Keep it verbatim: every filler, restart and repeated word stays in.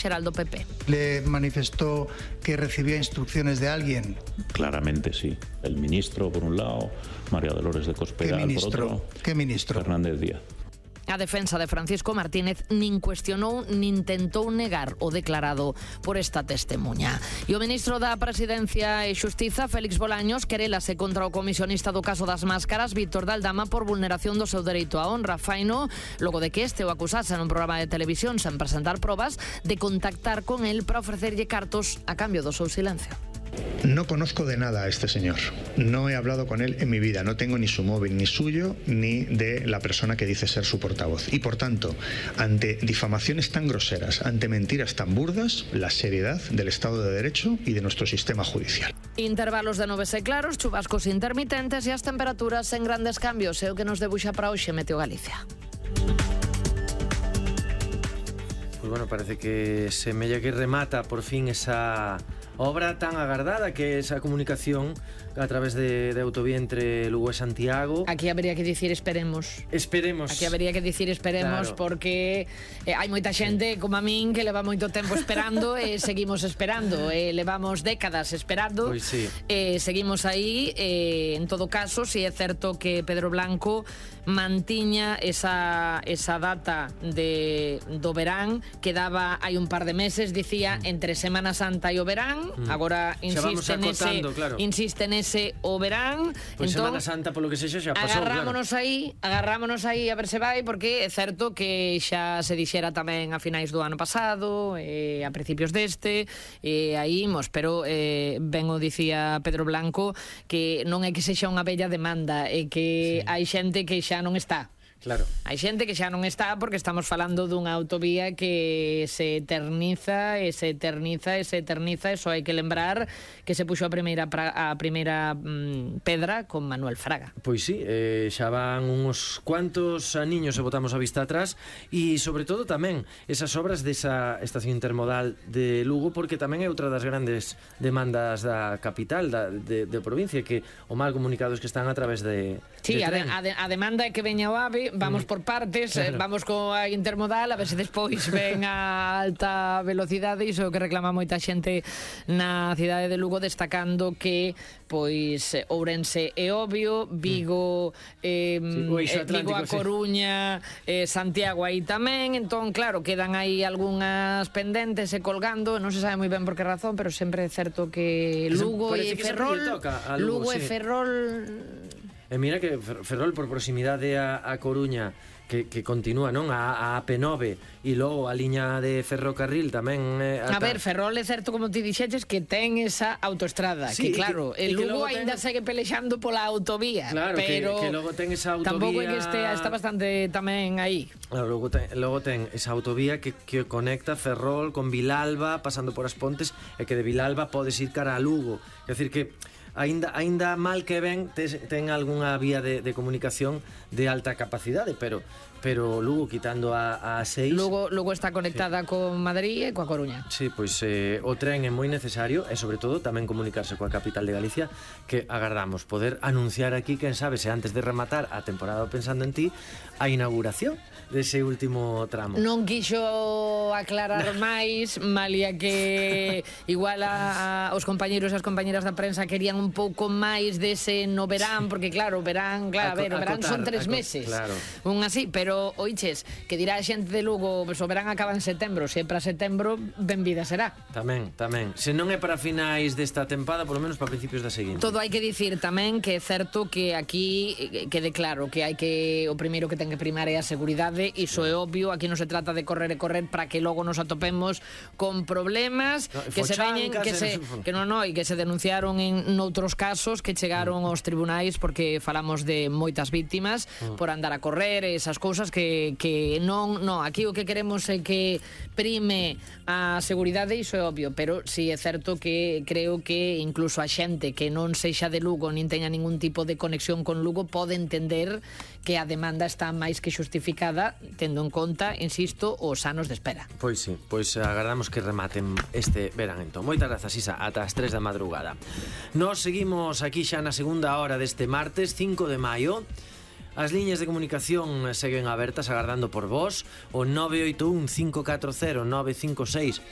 xeral do P P. ¿Le manifestó que recibía instrucciones de alguien? Claramente sí. El ministro, por un lado, María Dolores de Cospedal, ¿Qué ministro? por otro, ¿Qué ministro? Fernández Díaz. A defensa de Francisco Martínez nin cuestionou nin tentou negar o declarado por esta testemunha. E o ministro da Presidencia e Xustiza, Félix Bolaños, querélase contra o comisionista do caso das máscaras, Víctor de Aldama, por vulneración do seu dereito á honra. Faino, logo de que este o acusase nun programa de televisión sen presentar probas de contactar con el para ofrecerlle cartos a cambio do seu silencio. No conozco de nada a este señor. No he hablado con él en mi vida. No tengo ni su móvil, ni suyo, ni de la persona que dice ser su portavoz. Y por tanto, ante difamaciones tan groseras, ante mentiras tan burdas, la seriedad del Estado de Derecho y de nuestro sistema judicial. Intervalos de nubes e claros, chubascos intermitentes e as temperaturas en grandes cambios. É o que nos debuxa para hoxe Meteo Galicia. Pues bueno, parece que se mella que remata por fin esa obra tan agardada que é esa comunicación a través de, de autovía entre Lugo e Santiago. Aquí habería que dicir esperemos. Esperemos. Aquí habería que dicir esperemos, claro, porque eh, hai moita xente, sí, como a min, que leva moito tempo esperando e seguimos esperando. Eh, levamos décadas esperando. Pois sí. Eh, seguimos aí. Eh, en todo caso, si é certo que Pedro Blanco mantiña esa, esa data de, do verán que daba hai un par de meses, dicía entre Semana Santa e o verán. Mm. Agora insiste nese, claro. insiste nese o verán. Pois entón, Semana Santa, polo que sexa, xa pasou, agarrámonos claro. aí, agarrámonos aí a ver se vai, porque é certo que xa se dixera tamén a finais do ano pasado, eh, a principios deste, e eh, aí imos, pero eh, ben o dicía Pedro Blanco que non é que sexa unha bella demanda, é que sí, hai xente que xa non está. Claro. Hai xente que xa non está porque estamos falando dunha autovía que se eterniza e se eterniza e se eterniza e só hai que lembrar que se puxo a primeira pra, a primeira mm, pedra con Manuel Fraga. Pois sí, eh, xa van uns cuantos aniños e botamos a vista atrás e sobre todo tamén esas obras desa estación intermodal de Lugo, porque tamén é outra das grandes demandas da capital da, de, de provincia, que o mal comunicados que están a través de, sí, de a, de, a, de, a demanda é que veña o AVE. Vamos por partes, claro. eh, vamos coa intermodal, a ver se despois ven a alta velocidade. Iso é o que reclama moita xente na cidade de Lugo, destacando que pois Ourense é obvio, Vigo, eh, sí, Vigo a Coruña, sí, eh, Santiago aí tamén. Entón, claro, quedan aí algunhas pendentes e colgando, non se sabe moi ben por que razón, pero sempre é certo que Lugo e Ferrol, Lugo e Ferrol. E mira que Ferrol, por proximidade a, a Coruña, que, que continúa, non? A, a A P nove e logo a liña de ferrocarril tamén eh, ata... A ver, Ferrol é certo, como ti dixetes, que ten esa autoestrada, sí, que claro, que, el Lugo aínda ten... segue pelexando pola autovía, claro, pero que, que logo ten esa autovía, tampouco é que estea, está bastante tamén aí. Claro, logo ten, logo ten esa autovía que, que conecta Ferrol con Vilalba, pasando por as Pontes, e que de Vilalba podes ir cara a Lugo. É dicir que Ainda, ainda mal que ven ten algunha vía de, de comunicación de alta capacidade, pero pero Lugo, quitando a, a seis, Lugo, Lugo está conectada, sí, con Madrid e coa Coruña. Sí, pois eh, o tren é moi necesario e sobre todo tamén comunicarse coa capital de Galicia, que agardamos poder anunciar aquí, quen sabe, se antes de rematar a temporada Pensando en Ti, a inauguración dese último tramo. Non quixo aclarar máis, malia que igual a, a, os compañeiros e as compañeras da prensa querían un pouco máis dese no verán, porque claro, verán, claro, a, a ver, o verán acotar, son tres meses, claro, un así, pero oiches, que dirá a xente de Lugo, pues, o verán acaba en setembro, se é para setembro, benvida será. Tamén, tamén. Se non é para finais desta tempada, por lo menos para principios da seguinte. Todo hai que dicir tamén que é certo que aquí quede claro que hai que, o primeiro que ten que primar é a seguridade. Iso é obvio, aquí non se trata de correr e correr para que logo nos atopemos con problemas, no, que se veñen, que se que non, non, e que se denunciaron en noutros casos que chegaron aos tribunais, porque falamos de moitas víctimas mm. por andar a correr, esas cousas que, que non, non, aquí o que queremos é que prime a seguridade, iso é obvio, pero si é certo que creo que incluso a xente que non sexa de Lugo nin teña ningún tipo de conexión con Lugo pode entender que a demanda está máis que xustificada, tendo en conta, insisto, os anos de espera. Pois sí, pois agardamos que rematen este verán entón. Moitas grazas, Isa, ata as tres da madrugada. Nos seguimos aquí xa na segunda hora deste martes cinco de maio. As liñas de comunicación seguen abertas agardando por vos. O nove oito un cinco catro cero nove cinco seis